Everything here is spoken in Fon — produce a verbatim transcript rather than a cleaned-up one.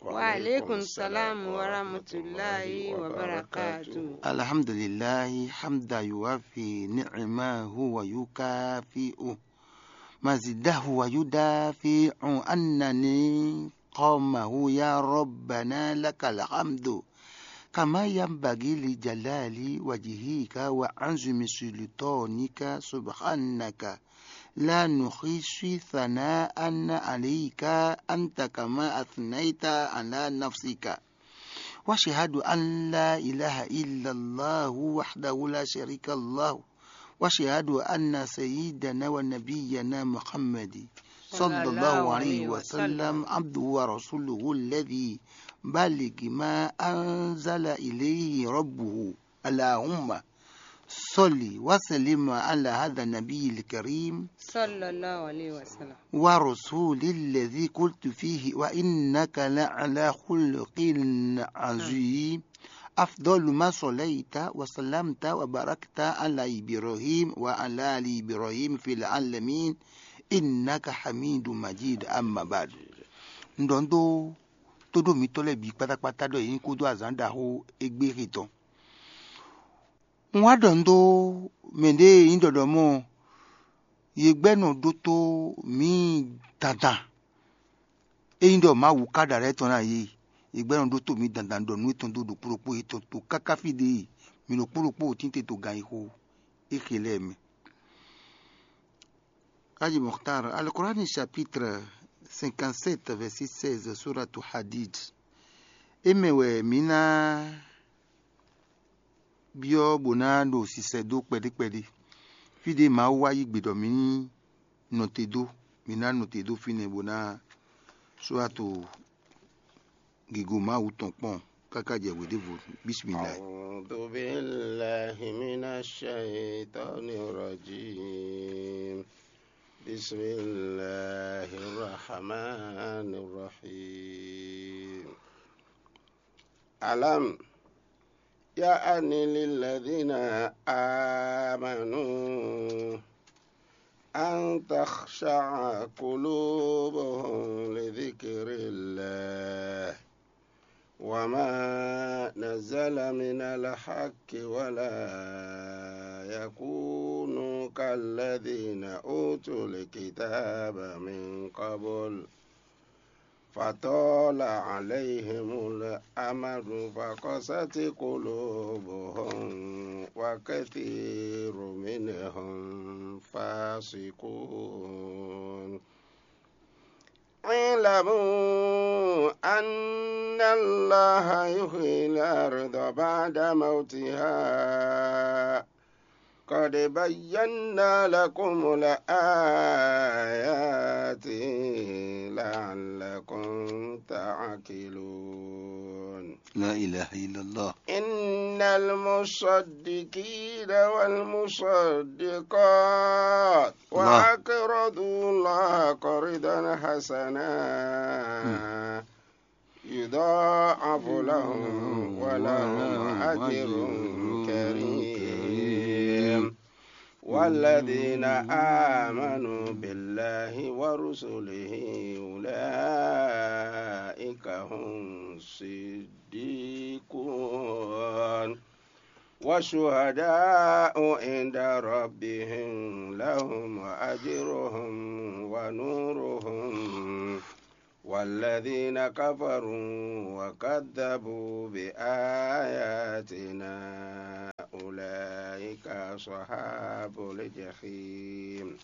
وعليكم السلام ورحمة الله وبركاته. الحمد لله حمدا يوافي نعمه ويكافئ مزيده ويدافع عنه نقمه. يا ربنا لك الحمد كما ينبغي لجلال وجهك وعظيم سلطانك. سبحانك لا نحصي ثناء عليك أنت كما أثنيت على نفسك. وأشهد أن لا إله إلا الله وحده لا شريك له. وأشهد أن سيدنا ونبينا محمد صلى الله عليه وسلم عبده ورسوله الذي بلغ ما أنزل إليه ربه. اللهم صل وسلم على هذا النبي الكريم صلى الله عليه وسلم. ورسول الذي قلت فيه: وإنك لعلى خلق عظيم. أفضل ما صليت وسلمت وباركت على إبراهيم وعلى آل إبراهيم في العالمين إنك حميد مجيد. أما بعد. Un ɖɔ nú tóɖó mitɔ́ lɛ́ɛ bǐ kpátákpátá ɖɔ yě nyí kúdó azǎn ɖaxó égbé he tɔn. Un wá ɖɔ nú dó mɛ ɖě e nyí ɖɔɖɔmɔ, yě gbɛ́ nɔ ɖótó mǐ dandan. Ényí ɖɔ Mawu ka ɖo alɛ tɔn ná yě, yě gbɛ́ nɔ ɖótó mǐ dandan ɖɔ nǔ yětɔn dó ɖokpó ɖokpó yětɔn to káká fí ɖě e mǐ ɖokpó ɖokpó tínte to ganyixo éxe lɛ́ɛ mɛ. Haji Mokhtar, Alkurani chapitre cinquante-sept, verset seize, Suratu Hadid. É mɛ wɛ mǐ ná byɔ́ bó ná ɖo sisɛ dó kpɛɖé kpɛɖé. Fí ɖé Mawu wá yí gbe ɖɔ mǐ ní nɔ te dó, mǐ ná nɔ te dó fínɛ́ bó ná Suratu gigo Mawu tɔn kpɔ́n káká jɛ hweɖěvo. Bismillah. أعوذ بالله من الشيطان الرجيم. بسم الله الرحمن الرحيم. ألم يأن للذين آمنوا أن تخشع قلوبهم لذكر الله وما نزل من الحق ولا يكونوا كالذين أوتوا الكتاب من قبل فطال عليهم الأمد فقست قلوبهم وكثير منهم فاسقون. اعلموا أن الله يحيي الأرض بعد موتها قد بينا لكم الآيات لعلكم تعقلون. لا إله إلا الله. إن المصدقين والمصدقات الله. وأقرضوا الله قرضا حسنا يضاعف لهم ولهم أجر كريم. والذين آمنوا بالله ورسله أولئك هم الصديقون والشهداء عند ربهم لهم أجرهم ونورهم والذين كفروا وكذبوا بآياتنا أولئك أصحاب الجحيم.